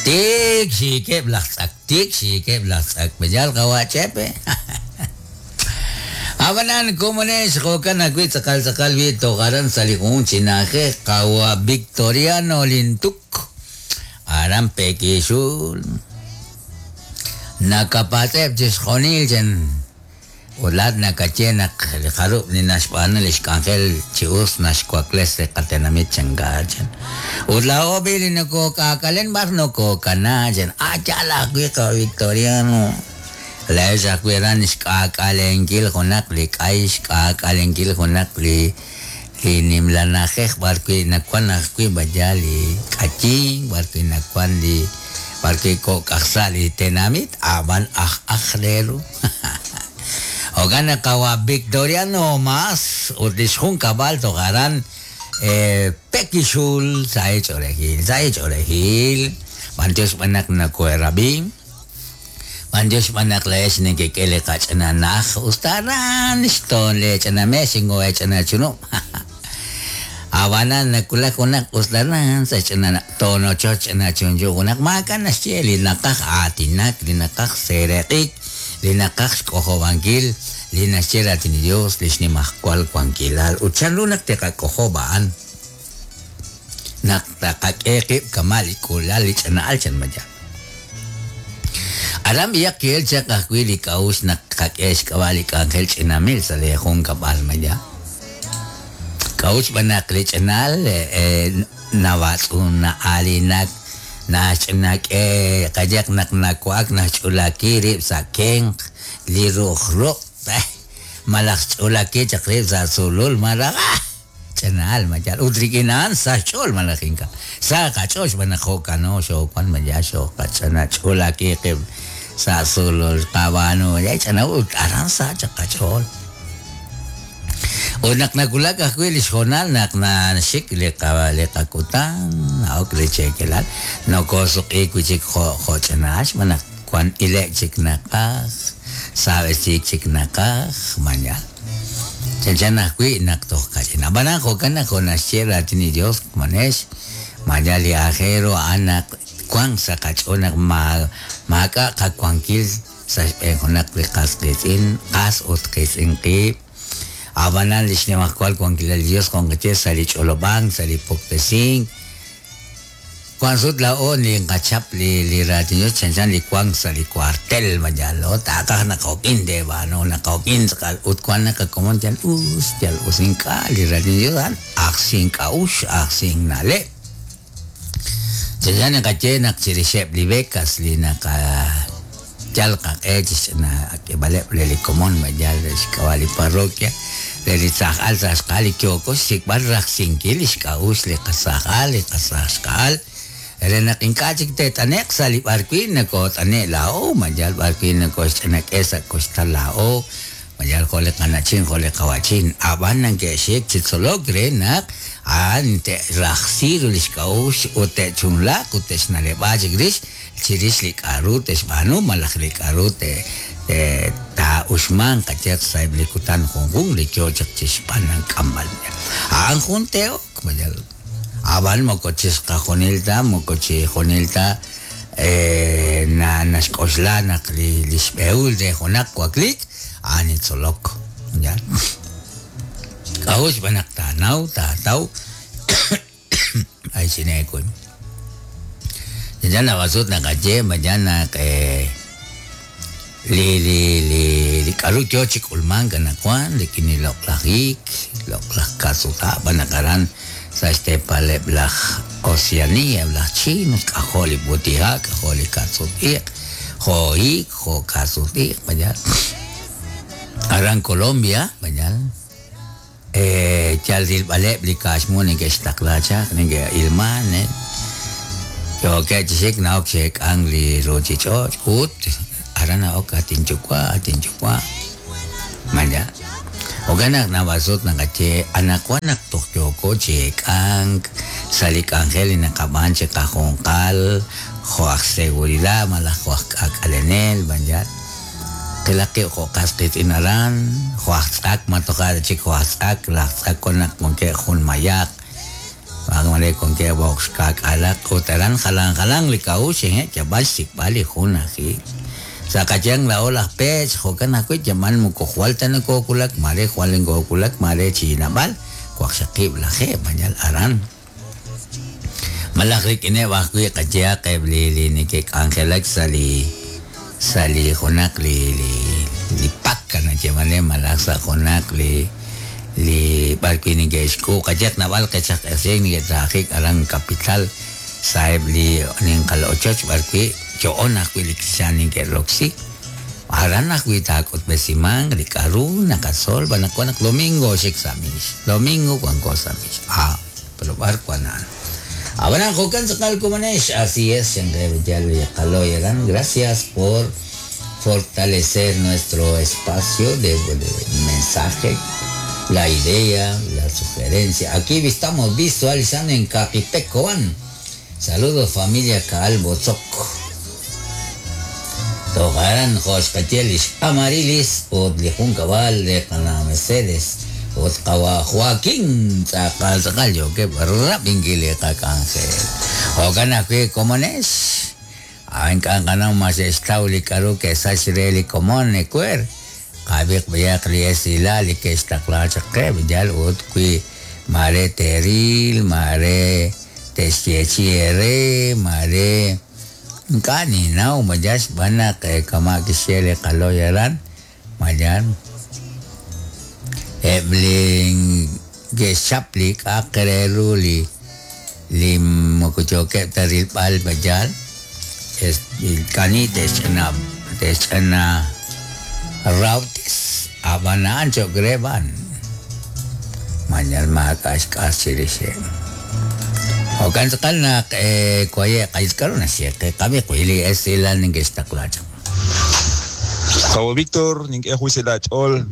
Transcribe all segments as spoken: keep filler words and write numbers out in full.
Tik xiikeb' laj tz'ak, tik xiikeb' laj tz'ak. B'eyal qawa' Chepe. Ab'anan komonex jo'kan ajwi' tz'aqal tz'aqal wi toj aran sa' li jun chi na'ajej qawa' Victoriano Lintuk. Aran Pekixul. Nakapatz'eb' chixjunil chen. Ut laat nakaye naq li jarub' li naxb'aanu li xk'anjel chi us naxwakles li qatenamit chanka chan. Ut laa'o b'i li nokok'aak'alen b'ar nokokana chan. Ah, yaal ajwi' qawa' Victoriano. Laex ajwi' aran xk'aak'alenkil junaq li k'ay, xk'aak'alenkil junaq li li nimla na'ajej b'ar wi' nawan ajwi' b'aya li k'ayin, b'ar wi' nawan li b'ar wi' kok'aj sa' li tenamit, ab'an aj aj re ru. Jo'kan naq qawa' Victoriano mas ut li xjunkab'al toj aran eh, Pekixul sa' ch'oolejil, sa' ch'oolejil. B'antiox b'an naq nakoherab'i. B'antiox b'an naq laex nekek'e li qach'ananaj usta aran xtoon le ch'anamex ingo ch'anachunub'. Ab'anan nakulak junaq usta aran sa' ch'anana tonochoch ch'anachunchu junaq maak'a' naxye li naqaj aatinak, li naqaj sereq'ik, li naqaj xk'ojob'ankil, li naxye raatin li Dios, li xnimajwal wankilal. Ut chanru naq teqak'ojob' a'an naq taqak'e qib' kama' li k'uulal li ch'ana'al chan maya. Aran b'iyaq ki'el chaq ajwi' li k'a'uxl naq qak'e xk'ab'a' li k'anjel ch'inamil sa' li junkab'al maya. K'a'uxl b'an naq li ch'ana'al eh, nawatz'un na'alinak naxch'inak'e qayaq naq nawa'ak naxch'ulaki rib' sa' kenq li ru'uj ruq' eh, malaj xch'ulaki chaq rib' sa' sulul malaj ah, ch'ana'al mayal ut rik'in a'an sa' xch'ool malaj ink'a' sa' qach'ool xb'aan naq jo'kano xoowan maya xooqach'ana ch'ulaki qib' sa' sulul qab'aanu ya ch'ana ut aran sa' chaq qach'ool. Ut naq nakulak ajwi' li xjoonal naq naxik li qa li qakutan na'ok li cheekelal nokosuq'iik wi' chik jo' jo' ch'ana'al xb'aan naq wan ile' chik naqaj saab'esiik chik naqaj mayal. Chanchan ajwi' naq toj kach'in. Ab'anan jo'kan naq jo' naxye raatin li Dios manex mayal li ajero a'an naq wan sa' qach'ool naq ma maak'a' qawankil sa' xb'een junaq li qas qiitz'in qas ut qiitz'in qiib'. Ab'anan li xnimajwal wankilal li Dios qonqeche sa' li ch'olob'ank, sa' li puktesink. Wan sut laa'o li nqachap li li raatin Dios chanchan li wank sa' li cuartel mayal, taqaj naqok'in de b'aanu naqok'in tz'aqal ut wan naqakomon yal us, yal us ink'a' li raatin Dios a'an ajsink k'a'uxl, ajsink na'leb'. Chanchan naqaye naq chirixeb' li becas li naqa yal qaq'e chixch'ana ak'eb'aleb' re li komon mayal re xk'ab'a' li parroquia re li tzaj'al sa' xqa'al li yooko xsik'b'al rajsinkil li xk'a'uxl li qasaj'al li qasaj xqa'al re naq ink'a' chik te't'ane'q sa' li b'ar wi' nakot'ane' laa'o mayal b'ar wi' nakoxch'anak'e sa' koxtal laa'o mayal jo' li qana'chin jo' li qawa'chin ab'an nanke'xik chi tzolok re naq a'an te'rajsi ru li xk'a'uxl ut te'chunlaq ut te'xna'leb'a chik rix chirix li k'a'ru te'xb'aanu malaj li k'a'ru te taa'uxmanq qayaq sa'eb' li kutan junjun li yoo chaq chixb'aanan k'amb'al. A'an jun te'ok mayal ab'an moko chixqajunil ta moko chijunil ta eh, na naxk'oxla naq li li xb'ehul re junaq waklik a'an li tzolok ya. K'a'uxl b'an naq taanaw taataw ay chineekuy. Chanchan naqasut naqaye mañana naq eh, li li li li k'a'ru yoo chi k'ulmank anaqwan rik'in li loq'laj hiik, loq'laj kasuta' b'an naq aran sa' xteepaleb' laj Oceanía, laj Chinos, k'ajo' li b'utiha', k'ajo' li kasut-iq', jo' hiik, jo' kasut-iq', mayal. Aran Colombia, mayal. Eh, yal rilb'aleb' li kaaxmu neke'xtaqla chaq, neke'ilman, eh. Yookeb' chi xik na'ok xeek'ank li ruuchich'och' ut aran na'ok atinyuwa', atinyuwa'. Maya. Jo'kan naq nab'asut naqaye anaqwan naq toj yooko chi eek'ank sa' li k'anjel li naqab'aan chi qajunqal jo' aj seguridad malaj jo' aj k'aak'alenel mayal. Qilaq qib' jo' qas qiitz'in aran, jo' aj tz'ak ma toja' chik jo' aj tz'ak, laj tz'ak wan naq wankeb' jun mayaq. Mare con que box kak'alaq utaran jalan jalan li k'a'uxl eh yab'al xsik'b'al li jun aji sakayang la ola pech jo'kan ajwi' yamal moko jwal ta nakokulak mare jwal nkokulak mare chinab'al waqxaqib' lajeeb' mañal aran malaj rik'ineb' ajwi' qayehaq eb' li li neke'k'anjelak sa' li sa' li junaq li li li pak nayeeman re malaj sa' junaq li li b'arwi' neke'xk'u qayehaq nab'al qechaq q'esien neke'trajik aran capital sa' eb' li ninqal ochoch b'arwi' yo'on ajwi' li xan neke'roksi aran ajwi' taak'utb'esiman li k'a'ru naqatzol b'anaq wan naq domingo xik sa' mix domingo wanko sa' mix ah pero b'ar wan a'an. Ab'anan jo'kan tz'aqal komonex, así es, Yaloyaran, gracias por fortalecer nuestro espacio de, de mensaje, la idea, la sugerencia. Aquí estamos visualizando en Capipecoan. Saludos familia Kaalbotzok. Togaran Joxcatielis Amarilis, ut li jun kabal de Qana Mercedes, ut qawa Joaquín tz'aqal tz'aqal yookeb' rab'inkil li qak'anjel. Jo'kan ajwi' komonex. A'n k'anqanaw mas xtaw li k'a'ru ke'sach re li komon ecuer. Qab'iq b'ayaq li esilal li ke'xtaqla chaq qe yal ut wi mare teril, mare te'xyechi ere, mare ink'a' ninaw mayax b'anaq kama' kixye li qaloy aran mayan eb' li ke'xchap li k'a'aq re ru li li moko yookeb' ta rilb'al mayal es kani te'xch'ana te'xch'ana rawtis ab'an a'an cho'q re b'an mañal maak'a' xk'as chirixeb'. Jo'kan tz'aqal naq kuaye' qaysk'aru naxye qe qab'i wi li esilal neke'xtaqla chaq. Cabo Víctor, Ninquejuiselachol,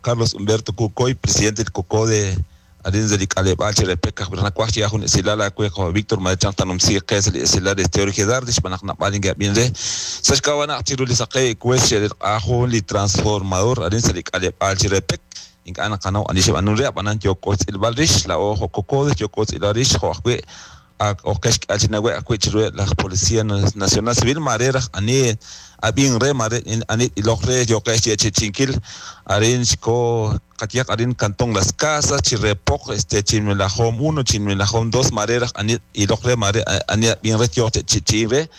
Carlos Humberto Cucoy, presidente del COCODE, Arin de Calebal, Cherepeca, Bernacuachi, Ajun, Esilala, Cabo Víctor, Madechan, Tanumsi, Quesel, Esilal, Esteori, Gedardish, Banacnapalin, Gabinre, Sashkawana, Chirulisake, Cueche, Ajun, Li Transformador, Arin de Calebal, Cherepec, Incana Cano, Anisha Anuria, Banan, Yocos, El Balrish, la Ojo Cocode, Yocos, El Arish, Joaque, Okesh, Achinahue, Acuichirue, la Policía Nacional Civil, Marera, Ani, Abin re mare ani ilokre yokesh chichinkil arin ko katiak arin cantón Las Casas Chirrepoc este Chinmelajom uno Chinmelajom dos marera ani ilokre mare ani abin re yote chichinre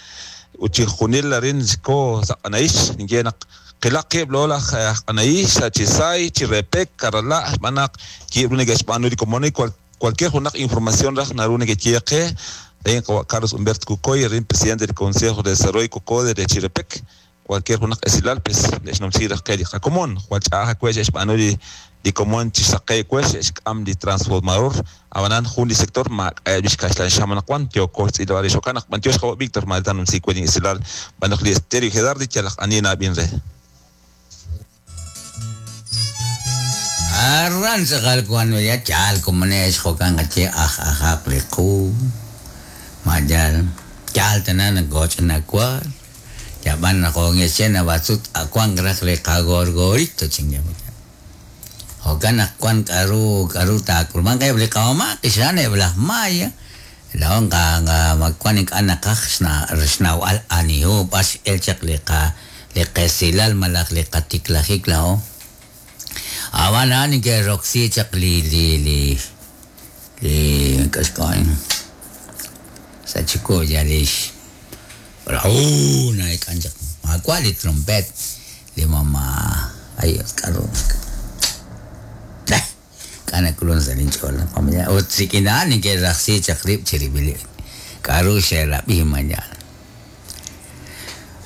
uchijunil arin ko anaish ningenak qilaqib lola anaish chisay Chirrepec karala manak kibrune geshpanu komoni cualquier una información raj narune que chieque Carlos Humberto Cucoy, el presidente del Consejo de Desarrollo Cocode de Chirepec, cualquier una esilal pues les nomsira que común, cual chaja cuesh espanoli di común chisaqe cuesh am di transformador, abanan jun di sector ma bishkashlan shaman kwan tio kos ilwari shokanak mantios jaw Víctor maltan umsi cuesh esilal banaq li estéreo gedardi chalaq anina binre. Arran tz'aqal cuando ya chal komonex jo'kan qache aj ajaq li qu mayal chal tanan goch nakwal yaban nakongechen abatsut akuan graj le kagorgorito chingyamita jo'kan akuan karu karu takulman kay bli qawma qishan blah maya laon ka nga magkuan ik anakaj xna xnaw al anihu bas el chaq li qa li qesilal malaj li qatiklajik lao Abana ni que Roxy chaq li li li li kaskoin sa chico ya lish pero uh na ikancha ma cuál trompet li mamá ay karo kana kulon sa linchola familia o tsikina ni que Roxy chaq rib chiribili karo shela bi mañana.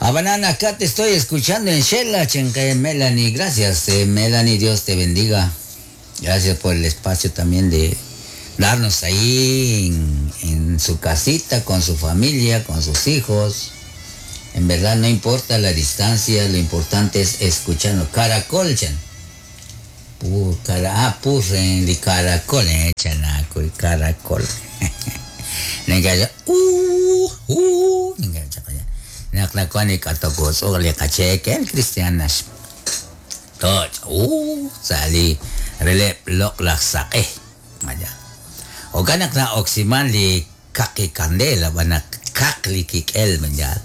Abanana, acá te estoy escuchando en Shela, Chenque, Melanie. Gracias, eh, Melanie, Dios te bendiga. Gracias por el espacio también de darnos ahí en, en su casita, con su familia, con sus hijos. En verdad no importa la distancia, lo importante es escucharnos. Caracol, chan. Pu, cara, ah, purren, li caracol, eh, chanaco, caracol. Nenga, uh, uh, nenga, chakaya. Naklakuan ikatokos o likachekel cristianas. Toch, uh, sali relep lok laksake. Maya. Jo'kan naq na'oksiman li kaqi kandela b'an naq kaq li kik'el manjal.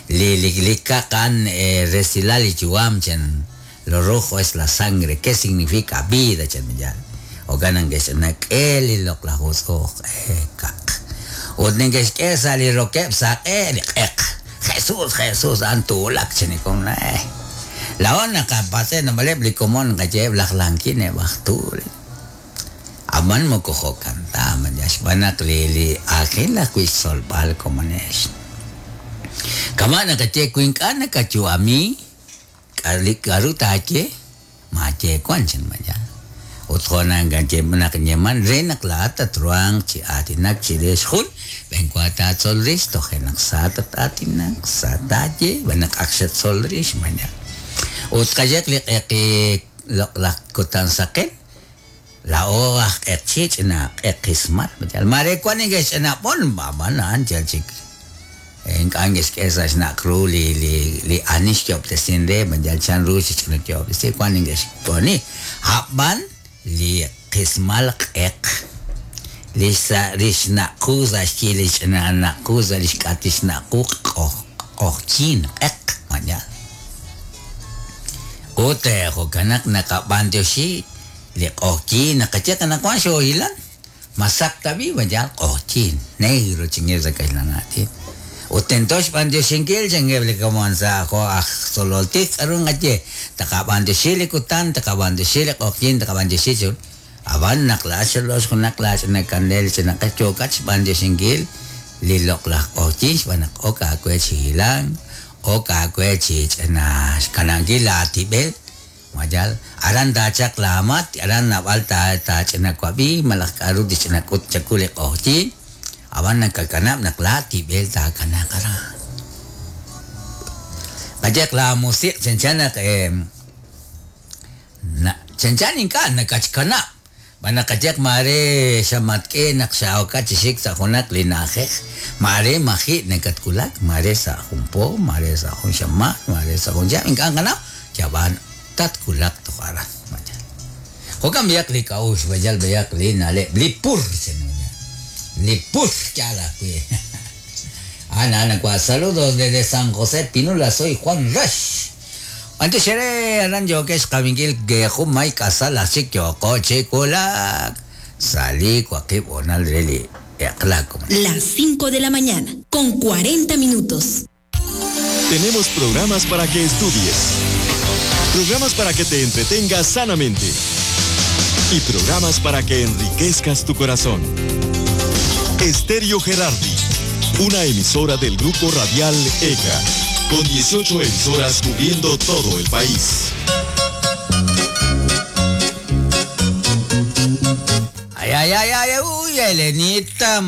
Li li li kaqan eh, resilal li yu'am chan lo rojo es la sangre. ¿Qué significa vida chan manjal? Jo'kan naq nak'e li loq'laj utz'uj eh, kaq. Ut neke'xk'e sa' li rokeb' saq'e li q'eq. Jesús, Jesús, an tuulak chanikon na eh. Laon naqapatze namaleb li komon qayeeb laj lankin eb'aj tuul. Aman moko jo'kan ta man xb'aan naq li li aajel ajwi' xtzolb'al komonex. Kama' nakaye wi ink'a' nakayu'ami k'aru k'aru taaye maaye wan chan maya. Ut jo' nakaye naq yeman re naq laa'at tatruhanq chi aatinak chirix jun b'enwa taatzol rix toje' naq sa tat-aatinak sa taaye b'an naq ak xatzol rix maya. Ut qayeq li q'eqi loq'laj kutan saqen lao aj q'eqchi ch'ina q'eqismal maya. Mare wan neke'xch'inab'on b'an a'an yal chik ink'a' neke'xk'e sa' xnaq' ru li li li ani xyo'ob'tesin re yal chan ru xch'ina yo'ob'tesi wan neke'xk'oni a'b'an li qismal q'eq li sa' li xnaq'u sa' xyi li ch'ina naq'u sa' li xk'at li xnaq'u q'oj q'ojyin q'eq maya. Ut jo'kan naq naqab'antioxi li q'ojyin naqaye naq wan xoohilan masak tabi maya q'ojyin negro chingeb sa' kaxlanaatin. Ut tento xb'antioxinkil chingeb li komon sa' jo' aj tzololtik k'aru nqaye taqab'antioxi li kutan taqab'antioxi li q'ojyin taqab'antioxi chun ab'an naq laa'at xolox junaq laach'ina kandel ch'ina q'eq yookat xb'antioxinkil li loq'laj q'ojyin xb'aan naq ok aawe chi hilank ok aawe chi ch'ina xkanankil laatib'el mayal aran taachaq laamat aran nab'al ta taach'ina wab'i malaj k'aru tixch'ina k'ut chaku li q'ojyin ab'an nakakanab' naq laatib'el taakanaq aran. Qayeq la musiq chanchan naq eh, na chanchan ink'a' nakachkanab' b'an naqayeq mare xamatk'e naq xaokat chi xik sa' junaq li na'ajej mare maji' nakatkulak mare sa' jun po mare sa' jun xamaan mare sa' jun chihab' ink'a' nqanaw yab'an tatkulak toj aran mayal. Jo'kan b'ayaq li k'a'uxl b'ayal b'ayaq li na'leb' li pur chan li pur yal ajwi'. Ana, ana, cua. Saludos desde San José Pinula, soy Juan Rash. Antes xere aran yokex qabinkil que jun may k'asal ajchik yoko chikulak. Salí cuaqib onal reli eqlak. Las cinco de la mañana, con cuarenta minutos. Tenemos programas para que estudies, programas para que te entretengas sanamente y programas para que enriquezcas tu corazón. Estéreo Gerardi, una emisora del Grupo Radial E C A, con dieciocho emisoras cubriendo todo el país. Ay, ay, ay, ay, uy, Elenita,